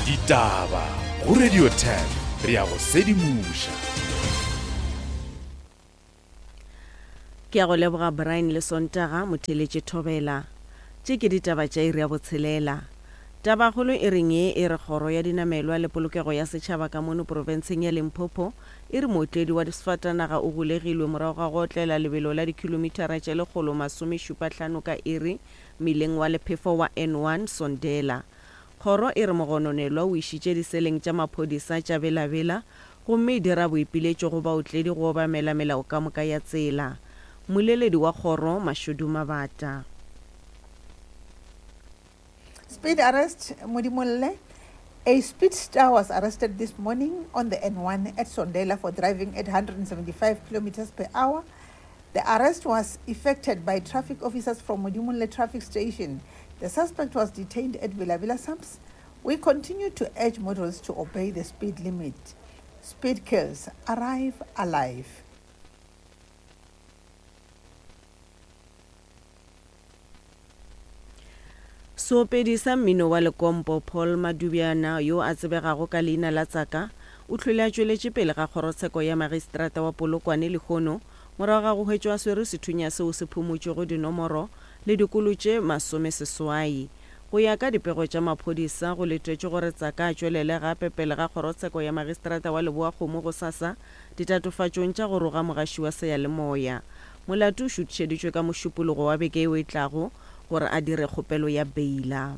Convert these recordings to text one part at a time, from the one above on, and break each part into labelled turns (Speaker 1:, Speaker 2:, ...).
Speaker 1: Ditaba go Radio 10 re a go sedimoša.
Speaker 2: Ke a go leboga Brian le Sontaga motheeletše Thobela. Tše ke ditaba tša iri ya botshelela. Tabakgolo e reng ye e re Kgoro ya Dinamelwa le Polokego ya Setšhaba ka mono profenseng ya Limpopo e re mootledi wa sefatanaga o golegilwe morago ga go otlela lebelo la dikhilomithara tše 175 ka iri mmileng wa lephefo wa N1 Sondela. Kgoro e re mogononelwa o išitše diseleng tša maphodisa tša Bela-Bela gomme e dira boipiletšo go baotledi go obamela melao ka moka ya tsela. Mmoleledi wa kgoro, Mashudu Mabata.
Speaker 3: Speed arrest, Modimolle. A speed star was arrested this morning on the N1 at Sondela for driving at 175 kilometers per hour. The arrest was effected by traffic officers from Modimolle traffic station. The suspect was detained at Villa Villa Sams. We continue to urge motorists to obey the speed limit. Speed kills. Arrive alive.
Speaker 2: Seopedi sa mmino wa lekompo Paul Madubjana yo a tsebegago ka leina la Tsaka o hlwele a tšweletše pele ga kgorotsheko ya magistrata wa Polokwane lehono morago ga go hwetšwa a swere sethunya seo se phumotšwego dinomoro le dikolo tše masomeseswai. Go ya ka dipego tša maphodisa, go letetšwe gore Tsaka a tšwelele gape pele ga kgorotsheko ya magistrata wa Leboakgomo gosasa ditatofatšong tša go roga mogaši wa seyalemoya. Molato o šuthišeditšwe ka Mošupologo wa beke yeo e tlago gore a dire kgopelo ya beila.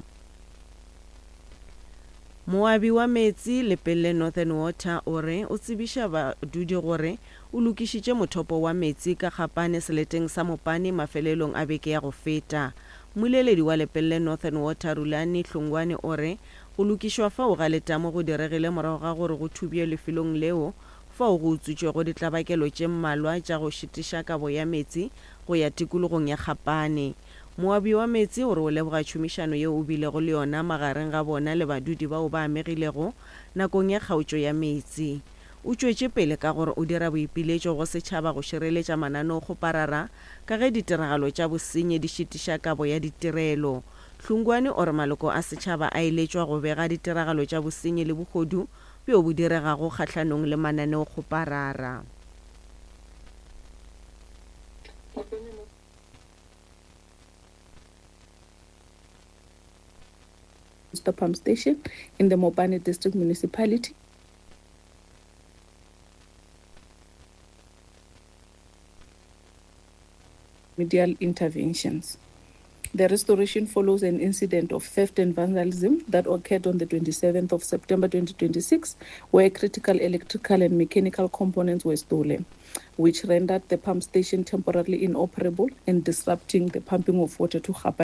Speaker 2: Moabi wa meetse Lepelle Northern Water o re o tsebiša badudi gore o lokišitše mothopo wa meetse ka Kgapane seleteng sa Mopane mafelelong a beke ya go feta. Mmoleledi wa Lepelle Northern Water Rulani Hlongwane o re go lokišwa fao ga letamo go diregile morago ga gore go thubje lefelong leo fao go utswitšwego ditlabakelo tše mmalwa tša go šitiša kabo ya meetse go ya tikologong ya Kgapane. Moabi wa meetse o re o leboga tšhomišano yeo o bilego le yona magareng ga bona le badudi bao ba amegilego nakong ya kgaotšo ya meetse. O tšwetše pele ka gore o dira boipiletšo go setšhaba go šireletša mananeokgoparara ka ge ditiragalo tša bosenyi di šitiša kabo ya ditirelo. Hlungwane o re maloko a setšhaba a eletšwa go bega ditiragalo tša bosenyi le bohodu bjo bo diregago kgahlanong le mananeokgoparara.
Speaker 4: Pump Station in the Mopani District Municipality. Remedial interventions. The restoration follows an incident of theft and vandalism that occurred on the 27th of September 2026, where critical electrical and mechanical components were stolen, which rendered the pump station temporarily inoperable and disrupting the pumping of water to Gapa.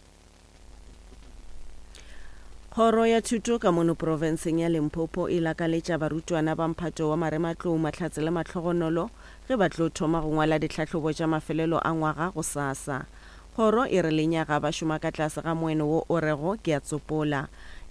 Speaker 2: Kgoro ya Thuto ka mono profenseng ya Limpopo e lakaletša barutwana ba mphato wa marematlou mahlatse le mahlogonolo ge ba tlo thoma go ngwala ditlhahlobo tša mafelelo a ngwaga gosasa. Kgoro e re lenyaga ba šoma ka tlase ga moeno wo o rego ke a tsopola,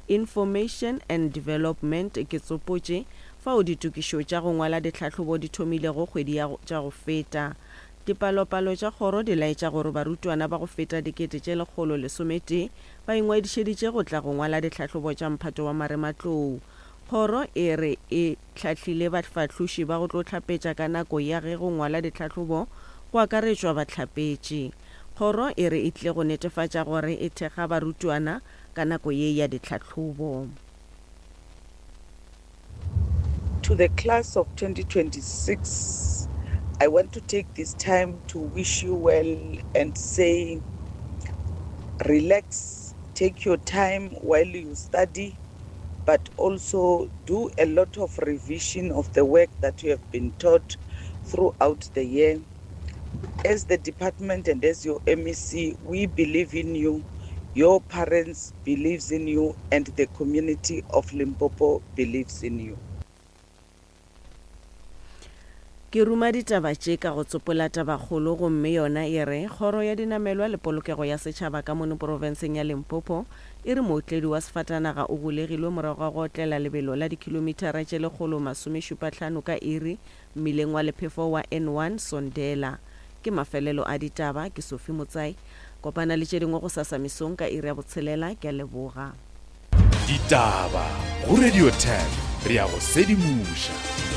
Speaker 2: Information and Development ke tsopotše, fao ditokišo tša go ngwala ditlhahlobo di thomilego kgwedi ya tša go feta. Dipalopalo tša kgoro di laetša gore barutwana ba go feta 111,000 ba ingwadišeditše go tla go ngwala ditlhahlobo tša mphato wa marematlou. Kgoro e re e hlahlile bafahloši ba go tlo hlapetša ka nako ya ge go ngwalwa ditlhahlobo go akaretšwa bahlapetši. Kgoro e re e tlile go netefatša gore e thekga barutwana ka nako ye ya ditlhahlobo.
Speaker 5: To the class of 2026, I want to take this time to wish you well and say relax, take your time while you study, but also do a lot of revision of the work that you have been taught throughout the year. As the department and as your MEC, we believe in you. Your parents believes in you and the community of Limpopo believes in you.
Speaker 2: Ke ruma ditaba tše ka go tsopola tabakgolo gomme yona e re, Kgoro ya Dinamelwa le Polokego ya Setšhaba ka mono porofenseng ya Limpopo e re mootledi wa sefatanaga o golegilwe morago ga go otlela lebelo la dikhilomithara tše 175 ka iri mmileng wa lephefo wa N1 Sondela. Ke mafelelo a ditaba, ke Sophie Motsai. Kopana le tše dingwe gosasa mesong ka iri ya botshelela. Ke a leboga.
Speaker 1: Ditaba. Go Radio 10 re a go sedimoša.